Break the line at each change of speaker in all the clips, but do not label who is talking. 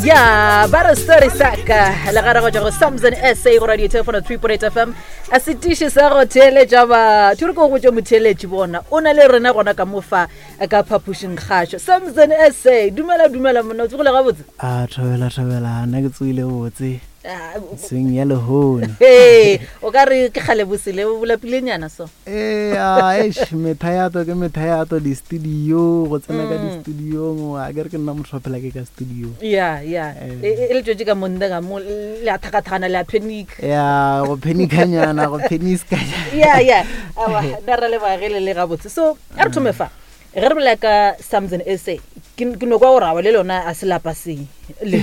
Ya ba re story saka le gare go tšwa go Samson SA go radio telefono 3.8 FM a setiši sa go theeletša batho re ko go tšwa motheeletši bona o na le rena gona ka mofa ka phapošing kgašo Samson SA dumela dumela monna o tsogile gabotse
a thobela thobela nna ke tsogile botse ah, seng ya lehono
ee o ka re ke kgale bosele o bolapilenyana so
ee eish methayato ke methayato di-studio go tsena ka mm. di-studiong a ke re ke nna motho wa phela ke ka studio
ya ya eh. e, e, e le tswetse ka monde ka mo le a thakathakana le a panic
ya go panicanyana go paniskanya
ya ya awa nna ra lebagele le gabotse so a re thome fa ge re bolela ka samson sa ke no kwa gore awa le lona a se lapa seng le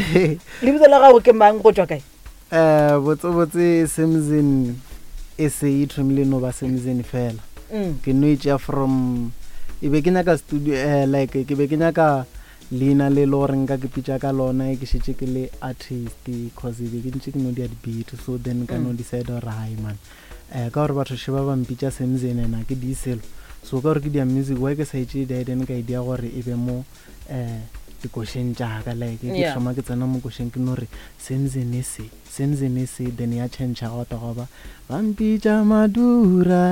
lebitso la gago ke mang go tswa kae
um botsebotse samson sa e thomile no ba samson fela mm. ke no e tšea from e be ke nyaka studio uh, like ke be ke nyaka leina le le gore nka ke pitša ka lona e ke šetše ke le artist cause e be ke ntše ke no dia di-beat so then ka no mm. decide gore hai man um ka gore batho sheba ba mpitša Semzen and a ke di selo so ka gore ke dia music why ke sa e tšee di then ka e dia gore e be mo um dikošeng tšaka like ke yeah. thoma ke tsena mo košeng ke no re Semzen e se Semzen e se then ya change ga ta goba ba mpitša Madura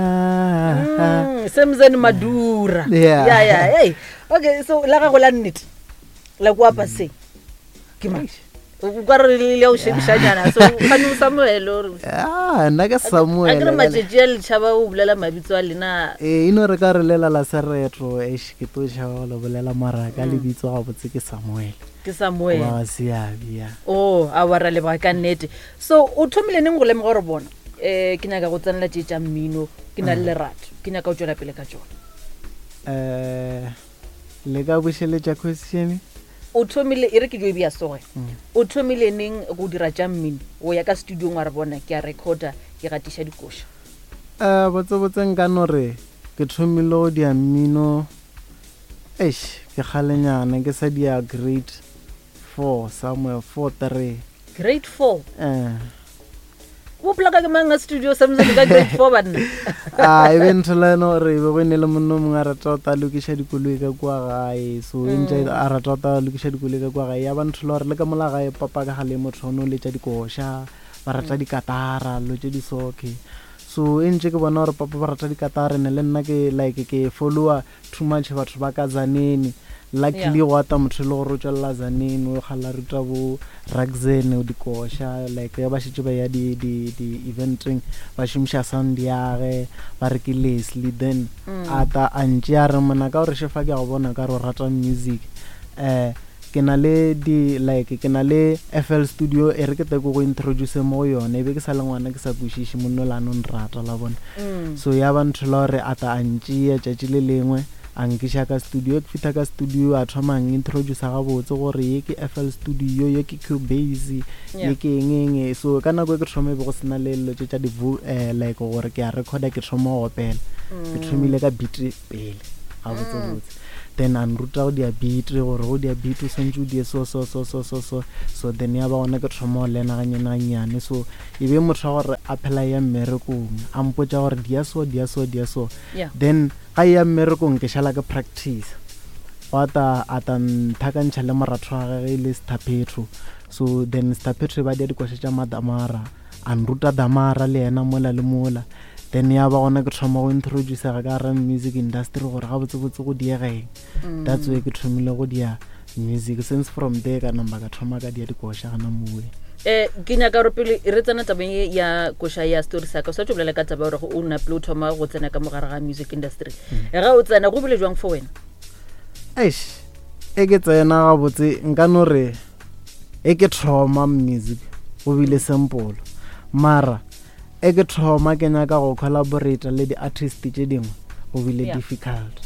mm, Semzen Madura yeah yeah, yeah. Hey. okay so la gago la nnete la kwa paseng ke mang o ka re le o shebišanyana so gane o samuel ore
ah nna ke samuel
a ke re matšatši a letšhaba o bolela mabitso a lena
ee e no re ka re lela la seretro eish ke tlo tšhaba go le bolela mara ka mm. lebitso gabotse ke samuel
ke samuel
wa seabi ya
o oh, a wa ra leboga ka nnete so o thomile neng go lemoga gore bona um ke nyaka go tsenela tše tša mmino ke na le mm. lerato ke nyaka go tšwela pele ka tšona
um le ka bušeletša question
O thomile, e re ke jo e bea soge, o thomile neng go dira tša mmino? O ya ka studiong wa re bona ke a recorda, ke gatiša dikoša.
Eh, botsebotse nka no re ke thomile go dia mmino, eish, ke kgalenyana, ke sa dia grade four somewhere, four, three.
Grade four?
Eh.
O plaka ke mang a studio sa music ka grade 4 banna?
A e be ntho la eno gore e be go ne le monna o mongwe a rata go ta lokiša dikoloi ka kua gae so e ntše mm. a rata go ta lokiša dikoloi ka kua gae ya ba ntho la gore le ka mola gae papa ka gale motho o ne o letša dikoša ba rata mm. dikatara lo tše di soke so e ntše ke bona gore papa ba rata dikatara ne le nna ke like ke follower too much batho ba ka Tzaneen luckily yeah. go ata motho e le gore o tswelela Tzaneen o kgala ruta bo Raxen o dikoša like ba šetše ba ya di di di eventeng ba šomiša sound yage ba re ke Leslie then mm. a ta a ntše a re mona ka gore šefa ke a go bona ka re o rata music eh Ke na le di like ke na le FL studio e re ke tle ke go introduce mo go yone e be ke sa le ngwana ke sa kwešiše monna o la no nrata la bona mm. so ya ba ntho la gore a ta a ntšea tšatši le lengwe a nkiša ka studio ke fitha ka studio a thoma a introduce gabotse gore ye ke FL studio ye ke Cubase ye ke eng eng so ka nako e ke thoma e be go sena le dilo tše tša di eh, like gore ke a recorda ke thoma go opela ke mm. thomile ka beat pele gabotsebotse mm. then a nruta go dia beat gore go dia beat o swantse o die so so so so so so so then ya ba gona ke thoma go lena ganyane gannyane so e be motho wa gore a phela ya mmerekong a mpotsa gore dia so dia so dia so yeah. then ga ya mmerekong ke šala ke practice gwa ta a ta nthakantšha le moratho wa gage e le stapetro so then stapetro e ba dia dikoša tša madamara a nruta damara le yena mola le mola then ya ba gona ke thoma go introducega ka gara music industry gore gabotsebotse go diegeng mm. that's way ke thomile go dia music since from there ka namba ka thoma ka dia dikoša gana mowe
eh ke nyaka gore pele re tsena tabeng ye ya koša ya story sa ka o sa tlo bolela ka taba gore o napile o thoma go tsena ka mogare ga music industry mm. ga o tsena go bile jwang for wena
eish e ke tsena gabotse nka no re e ke thoma music go bile simple mara e ke thoma ke nyaka go collaborate le di-artist tše dingwe go bile yeah. difficult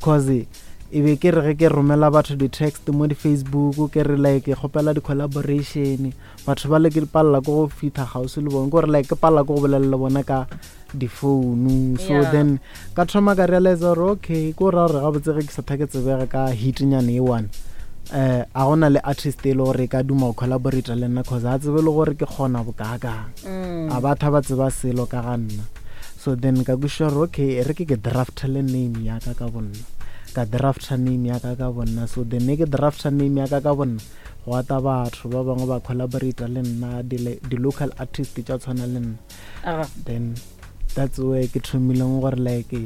cause e be ke re ge ke romela batho di-text mo di-facebook ke re like ke kgopela di-collaboration batho ba le ke palela ko go fitlha gausi le bone kore like ke palela ko go bolela le bona ka difounu so yeah. then ka thoma ka realize gore okay ko ra gore gabotse ge ke sa thake tsebega ka hitnyane e one eh a gona le artist e le gore e ka duma go collaborate le nna cause a tsebe le gore ke kgona bokaakang mm. a batho ba tseba selo ka ga nna so then ka kwešiša gore okay e re ke ke draft le name ya ka ka bonna. Ka drafta name ya ka ka bonna. So then ne ke drafta name ya ka ka bonna, go ata batho ba bangwe ba collaborata le nna, di-local artist tša tshwana le nna. Then that's where ke thomileng gore like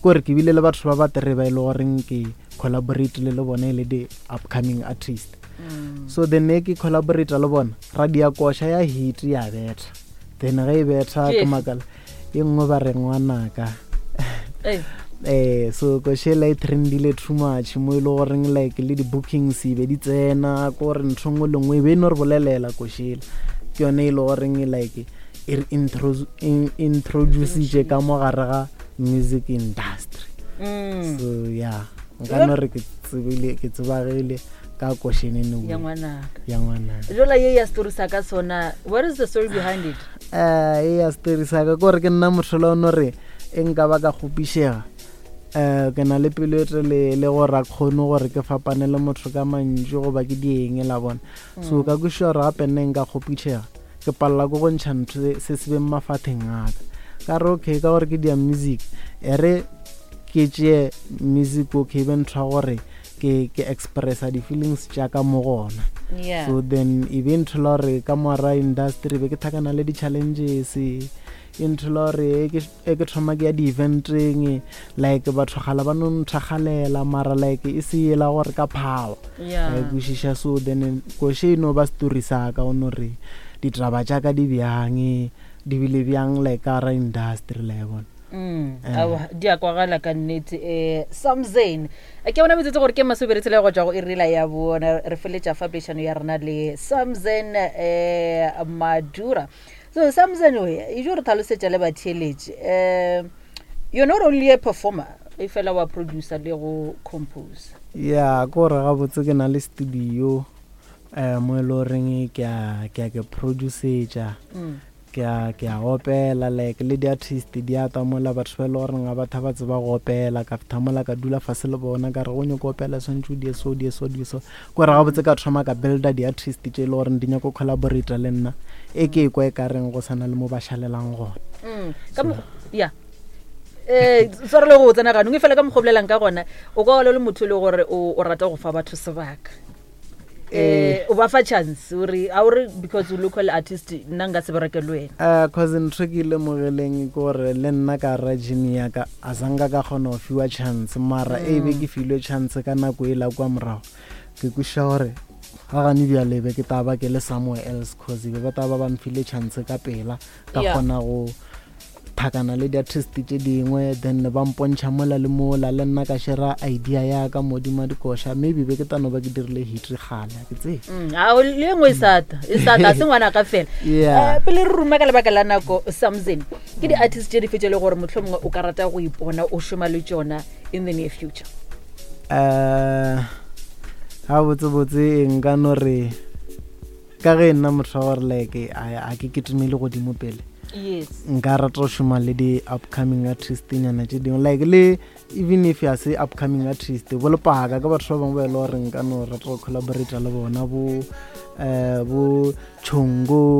kore ke bile le batho ba ba tere ba e le goreng ke collaborate le bona e le di-upcoming artist. So then ne ke collaborate le bona, ra dia koša ya hit ya betha. Then ge e betha, ke makala e nngwe ba re ngwanaka. So košela e trendile too much mo e le goreng like le di-bookings e be di tsena, ko gore ntho nngwe le nngwe e be e no re bolelela košela. Ke yone e le goreng like e re introducitše ka mo gare ga music industry. So yeah, nka no re ke tsebile, ke tsebagile ka košenene
ya ngwanaka.
Ya ngwanaka.
Jola ye ya story sa ka sona, what is the story behind it?
E ya story sa ka kore ke nna motho la ono re e nka ba ka kgopišega, ke na le pelo e telele gore a kgone gore ke fapane le motho ka mantšu goba ke dieng la bona. So ka kwešiša gore gape nne nka kgopišega, ke palela ko go ntšha ntho se se beng mafatheng a ka. Ka re okay, ka gore ke dia music, e re ke tšee music, okay, be ntho ya gore ke expressa di-feelings tša ka mo gona. So then e be ntho la gore ka moara industry be ke thakana le di-challenges, e ntho la gore e ke thoma ke ya di-eventeng, like batho gala ba no nthakgalela, mara like e se ela gore ka power. E kwešiša. So then koše e no ba story sa ka o no re ditaba tša ka di bjang, di bile bjang like ka ra industry la e bona.
Aowa, di a kwagala ka nnete. Samzen, ke bona metsotso gore ke masobere tshela go tswa go irela ya bona, re feletša fa poledišano ya rena le Samzen Madura. So Samzen, oe e jo re tlhalosetša le batheeletše, you're not only a performer, e fela wa producer le go compose.
Ya, ke gore gabotse ke na le studio mo e le goreng ke a produceetša, ke a opela, like le di-artist di ata mola, batho ba e le goreng ga batho ba tseba go opela, ka fitha mola ka dula fase le bona, ka re go nyako opela swantse o die so, die so, die so. Kore gabotse ka thoma ka builda di-artist tše e le goreng di nyako collaborata le nna, e ke e kwa e ka reng go sana le mo ba šalelang gona.
Ka ya tshware le go tsena ganong, e fela ka mokgwa o bolelang ka gona, o ka ola le motho e le gore o rata go fa batho sebaka, o ba fa chance, ore a ore because o local artist, nna nka se bereke le wena.
Cause ntho ke ilemogeleng ke gore le nna ka ra gene ya ka a sanka ka kgona go fiwa chance, mara e be ke filwe chance ka nako e la kwa morago, ke kwešiša gore ga gane bjale be ke taba ke le somewhere else, cause be ba taba ba mfile chance ka pela, ka kgona go thakana le di-artist tše dingwe, then ba mpontšha mola le mola, le nna ka shera idea ya ka modimo a dikoša, maybe be ke tano ba ke dirile hit gale, ke tsebe.
Ao, le e nngwe e sata, e sata, a se ngwana ka fela. Pele re ruma ka lebaka la nako, Samzen, ke di-artist tše di fetše le gore motlho mongwe o ka rata go ipona o šoma le tšona in the near future?
Ga botsebotse nka no re ka ge nna motho wa gore like a ke ketemele godimo pele, nka rata go šoma le di-upcoming artist nyana tše dingwe, like le even if ya se upcoming artist, bo lepaka ke batho ba bangwe ba e le gore nka no rata go collaborata le bona, bo um bo Chongo.